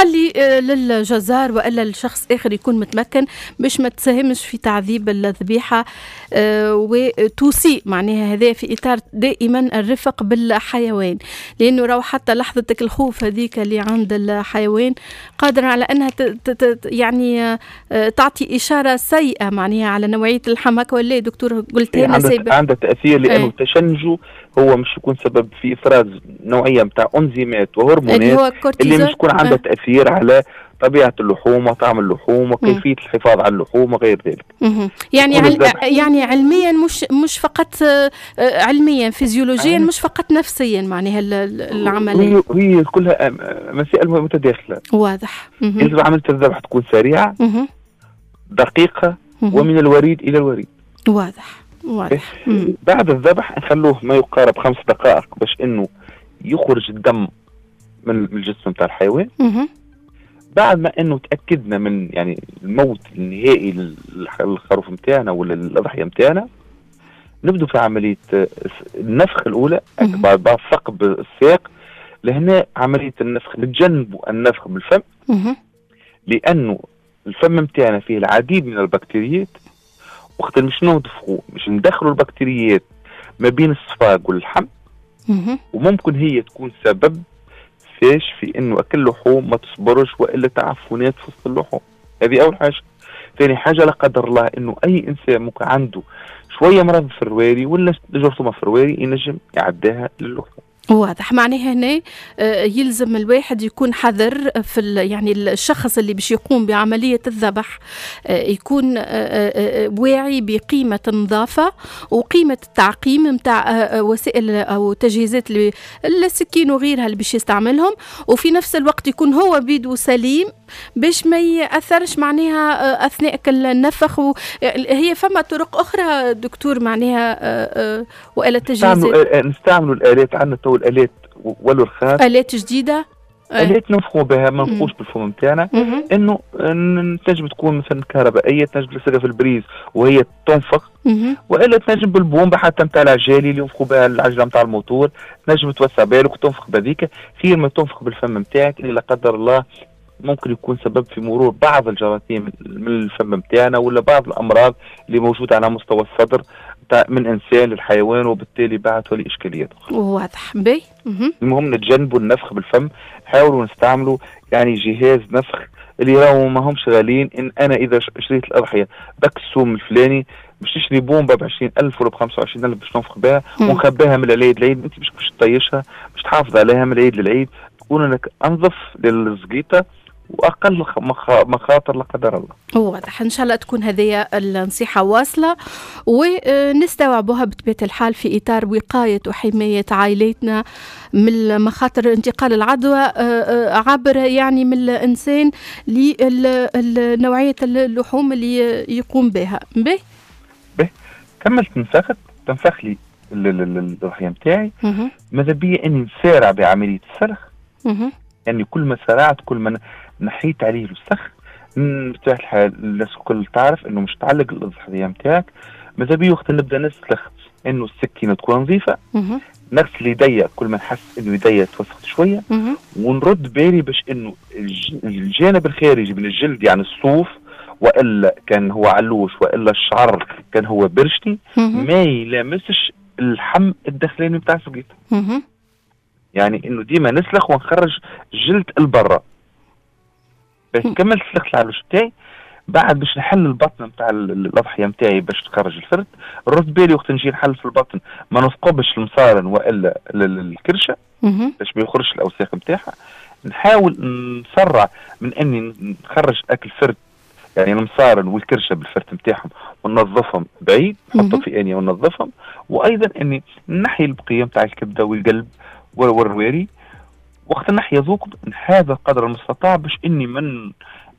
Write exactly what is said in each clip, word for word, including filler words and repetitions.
خلي آه، للجزار والا لشخص اخر يكون متمكن باش ما تساهمش في تعذيب الذبيحة آه، وتسيء معناها. هذا في اطار دائما الرفق بالحيوان، لانه راهو حتى لحظة الخوف هذيك اللي عند الحيوان قادرة على انها يعني آه، تعطي اشارة سيئه معناها على نوعية اللحم، هكا ولا دكتور؟ قلت لنا عندها عندها تاثير، لانه ايه. تشنجه هو مش يكون سبب في افراز نوعية نتاع انزيمات وهرمونات اللي, هو اللي مش يكون عندها أه. تاثير على طبيعة اللحوم وطعم اللحوم وكيفية الحفاظ على اللحوم وغير ذلك. يعني عل... يعني علميا مش مش فقط آه، علميا فيزيولوجيا، مش فقط نفسيا معناها العمليه. هي هي كلها مسائل متداخله. واضح. يجب عملية الذبح تكون سريعه، دقيقه، ومن الوريد الى الوريد. واضح واضح. بعد الذبح نخلوه ما يقارب خمس دقائق باش انه يخرج الدم من الجسم نتاع الحيوان. بعد ما انه تاكدنا من يعني الموت النهائي للخروف نتاعنا ولا الاضحية نتاعنا، نبدو في عملية النفخ الاولى بعد بعد ثقب الساق. لهنا عملية النفخ نتجنبوا النفخ بالفم، لانه الفم نتاعنا فيه العديد من البكتيريات. وقت مش ننفخوا مش ندخلوا البكتيريات ما بين الصفاق واللحم، وممكن هي تكون سبب فاش في انه اكل لحوم ما تصبرش والا تعفنات في وسط اللحوم. هذه اول حاجه. ثاني حاجه، لا قدر الله انه اي انسان ممكن عنده شوية مرض في الرواري ولا جرثومة في الرواري ينجم يعديها للحوم. واضح. معناها هنا آه، يلزم الواحد يكون حذر في يعني الشخص اللي باش يقوم بعملية الذبح آه، يكون آه، واعي بقيمة النظافة وقيمة التعقيم نتاع وسائل أو تجهيزات السكين وغيرها اللي باش يستعملهم، وفي نفس الوقت يكون هو بيدو سليم باش ما يأثرش معناها أثناء النفخ و... هي فما طرق أخرى دكتور معناها وآلة تجهيزات؟ نستعملوا الآلات، عندنا تو الالات ولو رخاص. الات جديده. الات ننفخوا بها، ما ننفخوش بالفم نتاعنا، انه تنجم تكون مثلا كهربائيه، تنجم تلصقها في ال prise وهي تنفخ، والا تنجم بالبومبا حتى نتاع العجالي اللي ينفخوا بها العجلة نتاع الموتور، تنجم توسع بالك وتنفخ بهذيك خير ما تنفخ بالفم نتاعك اللي لا قدر الله ممكن يكون سبب في مرور بعض الجراثيم من الفم نتاعنا ولا بعض الامراض اللي موجودة على مستوى الصدر من انسان للحيوان، وبالتالي بعد تولي اشكاليات اخرى. واضح باهي. المهم نتجنبوا النفخ بالفم، حاولوا نستعملوا يعني جهاز نفخ اللي راهو ما همش غاليين. ان انا اذا شريت الاضحية بك السوم الفلاني، باش تشري بومبا ب عشرين ألف ولا ب خمسة وعشرين ألف باش تنفخ بها ونخبيها من العيد للعيد، انت مش باش تطيشها، باش تحافظ عليها من العيد للعيد، تكون لك انظف للزقيطه واقل مخاطر لا قدر الله. واضح. ان شاء الله تكون هذه النصيحة واصله ونستوعبها بطبيعة الحال في اطار وقاية وحماية عائلاتنا من مخاطر انتقال العدوى آه، آه، عبر يعني من الانسان لنوعيه اللحوم اللي يقوم بها به. به، كملت نفخت، تنفخ لي الاضحية نتاعي، ماذا بيا اني نسارع بعملية السلخ. يعني كل ما سرعت كل ما نحيت عليه الوسخ. بطبيعة الحال الناس الكل تعرف انه مش تعلق الاضحية نتاعك. ماذا بي وقت نبدا نسلخ انه السكينة تكون نظيفه، نغسل يدي كل ما نحس انه يدي توسخت شويه، ونرد بالي باش انه الجانب الخارجي من الجلد، يعني الصوف والا كان هو علوش والا الشعر كان هو برشني، ما يلامسش اللحم الداخلاني بتاع السقيطه. يعني انه ديما نسلخ ونخرج جلد البرة. بس كملت سلخت العلوش بتاعي، بعد باش نحل البطن نتاع الاضحية نتاعي باش تخرج الفرد. رد بالي وقت نجي نحل في البطن ما نثقبش المصارن والا الكرشه باش ما يخرجش الاوساخ نتاعها. نحاول نسرع من اني نخرج اكل فرد، يعني المصارن والكرشه بالفرت نتاعهم، وننظفهم بعيد، نحطهم في انية وننظفهم، وايضا اني نحي البقية نتاع الكبده والقلب والرواري. وقت نحي ذوق هذا قدر المستطاع باش اني من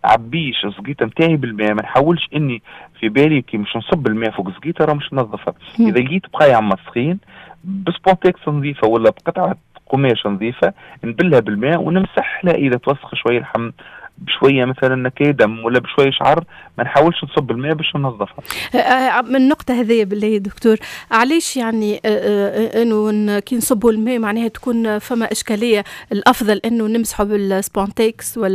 عبيش الزقيطه نتاعي بالماء. ما نحاولش اني في بالي كي مش نصب الماء فوق الزقيطه راه مش ننظفها. اذا لقيت بقايا مسخين، بسبونتكس نظيفة ولا بقطعه قماش نظيفة نبلها بالماء ونمسح لها. اذا توسخ شوية اللحم بشوية مثلا نكاية دم ولا بشوية شعر، ما نحاولش نصب الماء باش ننظفها. آه، آه، من النقطة هذه بالله دكتور، علاش يعني آه، انه كي نصبوا الماء معناها تكون فما اشكاليه؟ الافضل انه نمسحوا بالسبونتكس ولا